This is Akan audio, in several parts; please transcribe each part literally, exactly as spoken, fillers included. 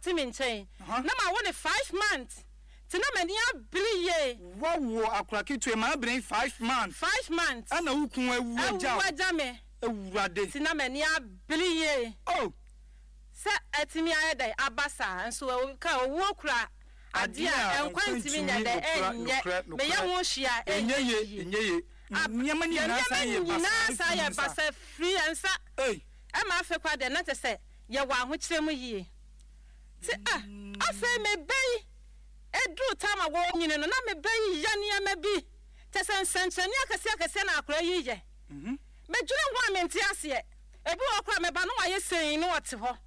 ɔte me nkyɛn. Na mawo ne five months. Nti na m'ani abere yie. Woawo akora ketewa ma abere five months. Five months. Ɛna wo kun awu agya wo. Awu agya me. Awurade. Nti na m'ani abere yie. Oh. Sɛ atumi ayɛ dɛn aba saa nso ka owuo kura adeɛ a nkwa ntumi nyɛ dɛn ɛnyɛ meyɛ ho hwee a ɛnyɛ yie. Ɛnyɛ yie. Nneɛma nyinaa san yɛ basa firi yɛn nsa. Ɛma afei koraa deɛ na kyerɛ sɛ yɛwɔ ahokyerɛ mu yie. Nti ah afei me ba yi ɛduru time a wɔrenyini no na me ba yi yɛ nneɛma bi kyerɛ sɛ nsɛnkyerɛnne akɛseɛ akɛseɛ na akwadaa yi yɛ. Medwene ho a mente aseɛ. Ebi wɔ hɔ koraa meba na wayɛ sei na ɔte hɔ.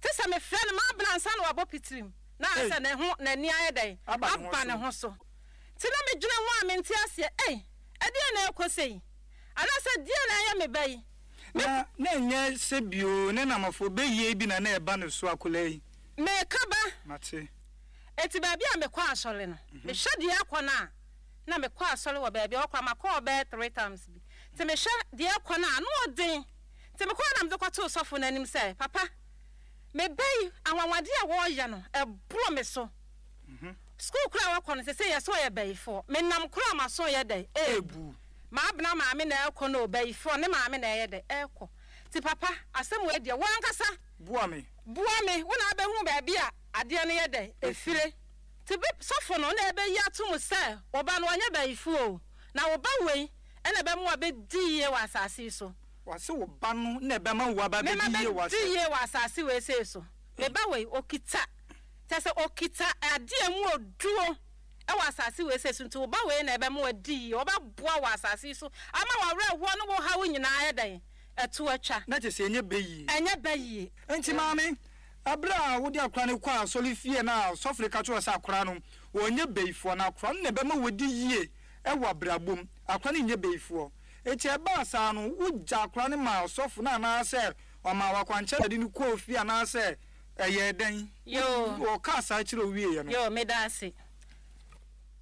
Te sɛ mefrɛ no m'abena ansa na wabɔ pitirim na ayɛ sɛ ne ho n'ani ayɛ dɛn aba ne ho so. Nti na medwene ho a mente aseɛ, ei ɛdeɛn na ɛrekɔ sei? Anaasɛ deɛn na ɛyɛ me ba yi? Me. Na na ɛnyɛ sɛ bio ne namafo bɛyie bi na na ɛba ne so akwadaa yi. Meka ba. Mate. Enti baabi a mekɔ asɔre no, mehwɛ deɛ ɛrekɔ no a, na mekɔ asɔre wɔ baabi a ɛhɔ koraa makɔ hɔ bɛyɛ three times bi. Nti mehwɛ deɛ ɛrekɔ no a, ano ɔden. Nti mekɔɔ na mede kɔtoo sɔfo no anim sɛ, Papa, me ba yi, anwanwadeɛ a wɔreyɛ no, ɛboro me so. Sukuu koraa a wakɔ no, seesei yɛse ɔyɛ bayifoɔ. Menam koraa a m'aso reyɛ dɛn? Ɛrebu. M'abena maame na ɛrekɔ no o, bayifoɔ, ne maame na ɛreyɛ dɛn? Ɛrekɔ. Nti papa, asɛm wei deɛ, wo ankasa. Boa me. Boa me, wo na wobɛhu baabi a adeɛ no yɛ dɛn? Ɛfire. Nti bi, sɔfo no na ɛbɛyi ato mu sɛ, wo ba no, ɔnyɛ bayifoɔ o, na wo ba wei na ɛbɛma wabɛdi yie wɔ asase yi so. Wɔse wo ba no na ɛbɛma wo aba Mema abɛdi yie wɔ bɛdi asase. yie wɔ asase wei sei so. Me ba wei, ɔkita, kyerɛ sɛ ɔkita adeɛ a ɛmu ɔduro wɔ asase wei sei so, nti wo ba wei na ɛbɛma wadi yie, ɔbɛboa wɔ asase yi so ama w'awerɛhoɔ ne wo haw nyinaa ayɛ dɛn? Ɛto atwa. Na kyerɛ sɛ ɛnyɛ bɛ yie. Ɛnyɛ bɛ yie. Enti maame, ɛberɛ a wode akora no kɔɔ asɔrefie na sɔfo no ka kyerɛɛ wo sɛ akora no, ɔnyɛ bayifoɔ, na akora no na ɛbɛma wadi yie wɔ abrabɔ mu, akora no nyɛ bayifoɔ. Enti ɛbaa saa no, wogyaa akora no maa ɔsɔfo no anaasɛ ɔmaa wo akwankyerɛ na de no kɔɔ fie anaasɛ ɛyɛɛ dɛn? Yoo. Ɔkaa saa kyerɛɛ wo wieeɛ no. Yoo, meda ase.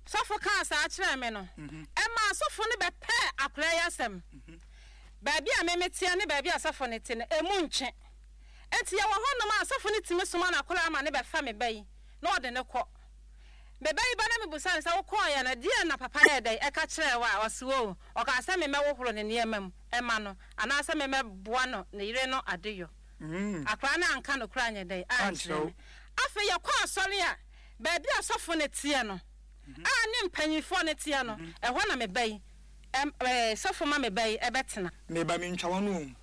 Sɔfo kaa saa kyerɛɛ me no, ɛmaa sɔfo no bɛpɛɛ akwadaa yi asɛm. Baabi a me meteɛ ne baabi a sɔfo no te no, emu ntwe. Enti yɛwɔ hɔnom a, sɔfo no tumi soma n'akwadaa ma no bɛfa me ba yi na ɔde no kɔ. Me ba yi ba na mebisa no sɛ, Wokɔeɛ no, deɛn na papa yɛɛ dɛn ɛka kyerɛɛ wo a? Ɔse, Oo, ɔkaa sɛ memmɛhohoro ne nneɛma mu mma no anaasɛ memmɛboa no ne yere no adeyɔ. Akwadaa no anka nokorɛ anyɛ dɛn ankyerɛ me. Afei yɛkɔ asɔre a, baabi a sɔfo no teɛ no, a ne mpanimfoɔ no teɛ no, ɛhɔ na me ba yi, sɔfo ma me ba yi bɛtena. Me ba, mentwa w'ano o.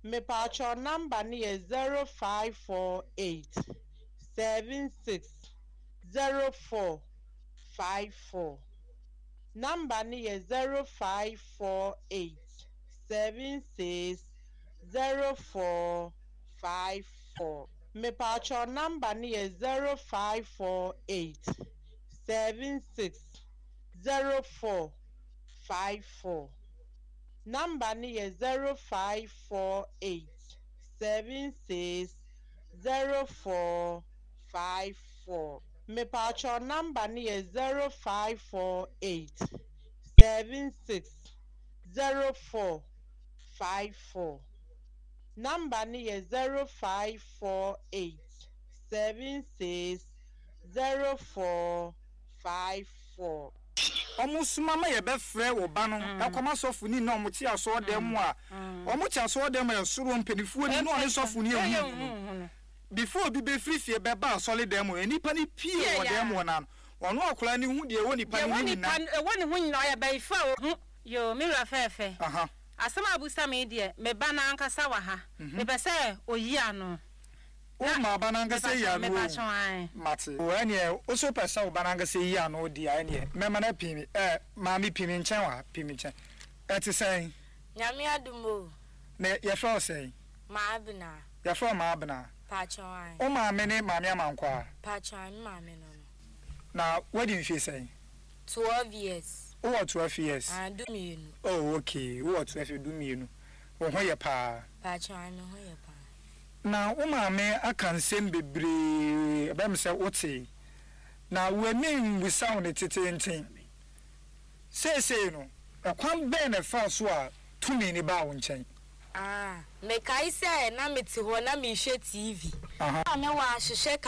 Mepaakyɛw number no yɛ zero five four eight seven six zero four five four. Number no yɛ zero five four eight seven six zero four five four. Mepaakyɛw number no yɛ zero five four eight seven six zero four five four. Number no yɛ zero five four eight seven six zero four five four. Mepaakyɛw number no yɛ zero five four eight seven six zero four five four. Number no yɛ zero five four eight seven six zero four five four. Wɔsoma ma yɛbɛfrɛ wo ba no kɔma sɔfo ni na wɔte asɔɔdan mu a, wɔte asɔɔdan mu a ɛsoro mpanimfoɔ ni na ɔne sɔfo ni ehu no. Before obi bɛfiri fie bɛba asɔredan mu no, nnipa no pie wɔ dan mu hɔ no ano. Ɔno akwadaa no hu deɛ ɛwɔ nipa no ho nyinaa. Deɛ ɛwɔ ne ho nyinaa, ɔyɛ bayifo a ɔhu. Yoo, me wura fɛɛfɛ, Aha. asɛm a woabisa me yi deɛ, me ba no ankasa wɔ ha. Mepɛ sɛ ɔyi ano. Wo ma ba no ankasa yi ano Mepa kyɛw, o. ae. Mate. O, ɛneɛ, wo so wopɛ sɛ wo ba no ankasa yi ano deɛ a, ɛneɛ, mɛma no apii me, ɛ, maame pii me nkyɛn wɔ ha, pii me nkyɛn. Ɛte sɛn? Nyame adom o. Na yɛfrɛ wo sɛn? Maabena. Yɛfrɛ wo Maabena? Pakyɛw, ae. Wo maame ne Maame Amankwaa? Pakyɛw, ae, me maame no no. Na woadi mfie sɛn? Twelve years. Wowɔ twelve years? Ae, du mmienu. Oh, okay, wowɔ twelve years, du mmienu. Wo ho yɛ paa? Pakyɛw, ae, me ho yɛ paa. Na wo maame aka nsɛm bebree, ɛbɛyɛ me sɛ wotee. Na w'ani mmisa wo no teteenten. Seesei no, ɛkwan bɛn na ɛfaa so a tumi no baa wo nkyɛn? Ah, mekae sɛ na mete hɔ na merehwɛ T V. Aha. Na mewɔ ahwehwɛ